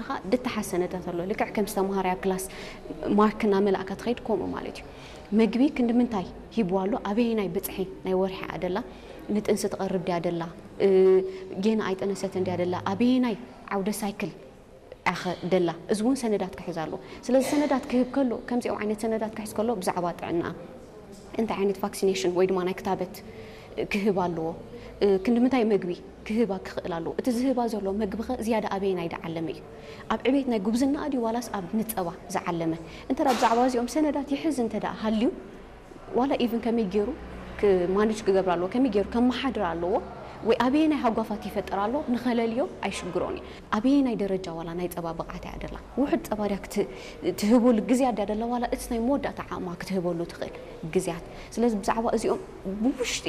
ርካ ድተሓዝ ሰነዳት ኣሎ። ልክዕ ከም ዝተምሃረ ኣብ ክላስ ማርክ እናመላእካ ትኸይድ፣ ከምኡ ማለት እዩ። መግቢ ክንዲ ምንታይ ሂብዋ ኣሎ፣ ኣበየናይ ብፅሒ ናይ ወርሒ እያ ደላ፣ ንጥንሲ ትቐርብ ድያ ደላ፣ እ፣ ጌና ኣይጠነሰትን ድያ ደላ፣ ኣበየናይ ዓውደ ሳይክል ኣኸ ደላ፣ እዚ እውን ሰነዳት ክሕዝ ኣለዎ። ስለዚ ሰነዳት ክህብ ከሎ፣ ከምዚኦም ዓይነት ሰነዳት ክሕዝ ከሎ፣ ብዛዕባ ጥዕና እንታይ ዓይነት ቫክሲኔሽን ወይ ድማ ናይ ክታበት ክህብ ኣለዎ፣ ክንዲ ምንታይ መግቢ ክህባ ክኽእል ኣለዎ፣ እቲ ዝህባ ዘሎ መግቢ ኸ ዝያዳ ኣበየናይ ዝዓለመ እዩ? ኣብ ዕቤት ናይ ጉብዝና ድዩ ዋላስ ኣብ ንፀባ ዝዓለመ? እንተ ደኣ ብዛዕባ እዚኦም ሰነዳት ይሕዝ እንተ ደኣ ሃልዩ፣ ዋላ ኢቭን ከመይ ገይሩ ማኔጅ ክገብር ኣለዎ፣ ከመይ ገይሩ ከመሓድር ኣለዎ፣ ወይ ኣበየናይ ሃጓፋት ይፈጥር ኣሎ ንኸለልዮ ኣይሽግሮን እዩ። ኣበየናይ ደረጃ ዋላ ናይ ጸባ ብቕዓት እያ ደላ፣ ውሑድ ጸባ ድያ ክት-፣ ትህበሉ ግዜ ድያ ደላ፣ ዋላ እቲ ናይ መወዳእታ ዓቕማ ክትህበሉ ትኽእል ግዜያት። ስለዚ ብዛዕባ እዚኦም ብውሽጢ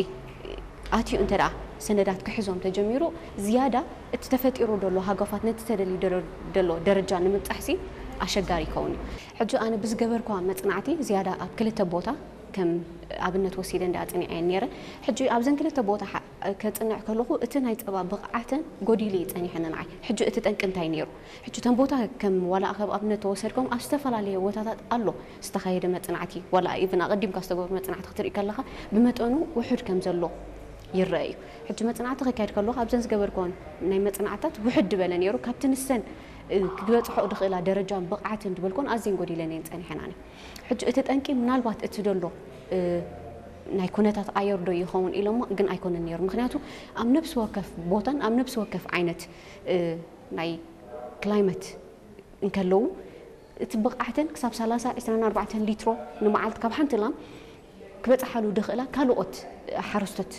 ኣትዩ እንተ ደኣ ሰነዳት ክሕዞም ተጀሚሩ፣ ዝያዳ እቲ ተፈጢሩ ደሎ ሃጓፋት ነቲ ተደልዩ ደሎ-፣ ደሎ ደረጃ ንምብጻሕሲ ኣሸጋሪ ይኸውን እዩ። ሕጂ ኣነ ብዝገበርኳ መጽናዕቲ ዝያዳ ኣብ ክልተ ቦታ ከም ኣብነት ወሲደ እንዳ ኣጽኒዐ ነይረ። ሕጂ ኣብዘን ክልተ ቦታ ሓ-፣ ከጽንዕ ከለኹ እቲ ናይ ጸባ ብቕዓተን ጎዲሉ እዩ ጸኒሐ ንዓይ። ሕጂ እቲ ጠንቂ እንታይ ነይሩ? ሕጂ እተን ቦታ ከም ዋላ ከም ኣብነት ተወሰድኩም ኣብ ዝተፈላለየ ቦታታት ኣሎ ዝተኻየደ መጽናዕቲ፣ ዋላ ኢቭን ኣቐዲምካ ዝተገብሩ መጽናዕቲ ክትርኢ ከለኻ ብመጠኑ ውሑድ ከም ዘሎ ይረአ እዩ። ሕጂ መጽናዕቲ ከካየድ ከለኹ ኣብዘን ዝገበርኩወን ናይ መጽናዕትታት ውሕድ ዝበለ ነይሩ። ካብቲ ንሰን፣ እ፣ ክበጽሖ ዝኽእላ ደረጃን ብቕዓትን ዝበልኩወን ኣዝየን ጎዲለን እየን ጸኒሐን ኣነ። ሕጂ እቲ ጠንቂ ምናልባት እቲ ደሎ፣ እ፣ ናይ ኩነታት ኣየር ዶ ይኸውን ኢሎሞ፣ ግን ኣይኮነን ነይሩ። ምኽንያቱ ኣብ ነፍሲ ወከፍ ቦታን ኣብ ነፍሲ ወከፍ ዓይነት፣ እ፣ ናይ ክላይመት እንከለዉ፣ እቲ ብቕዓተን ክሳብ ሰላሳ፣ ዕስራን ኣርባዕተን ሊትሮ ንመዓልቲ ካብ ሓንቲ ላም ክበጽሓሉ ድኽእላ ካልኦት ሓረስቶት፣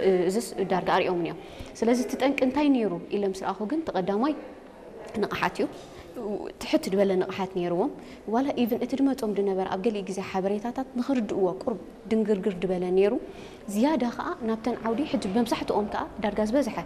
እ፣ እዝስ ዳርጋ ኣርእዮምን እዮም። ስለዚ እቲ ጠንቂ እንታይ ነይሩ ኢለ ምስ ረኣኹ ግን፣ እቲ ቀዳማይ ንቕሓት እዩ። ትሕት ዝበለ ንቕሓት ነይርዎም። ዋላ ኢቭን እቲ ድመጾም ድነበረ ኣብ ገሊኡ ግዜ ሓበሬታታት ንኽርድእዎ ቁሩብ ድንግርግር ድበለ ነይሩ። ዝያዳ ኸኣ ናብተን ዓውዲ ሕጂ መብዛሕትኦም ከኣ ዳርጋ ዝበዝሐ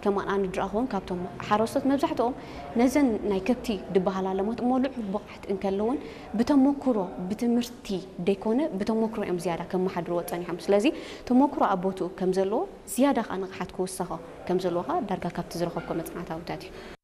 ከማን ኣነ ድረኣኹዎም ካብቶም ሓረስቶት መብዛሕትኦም ነዘን ናይ ከብቲ ድበሃላ ለማት እሞ ልዑል ብቕዓት እንከለውን ብተመኩሮ ብትምህርቲ ደይኮነ ብተመኩሮ እዮም ዝያዳ ከመሓድርዎ ጸኒሖም። ስለዚ ተመኩሮ ኣብ ቦትኡ ከም ዘለዎ ዝያዳ ኸኣ ንቕሓት ክውሰኾ ከም ዘለዎ ኸኣ ዳርጋ ካብቲ ዝረኸብኮ መጽናዕታዊታት እዩ።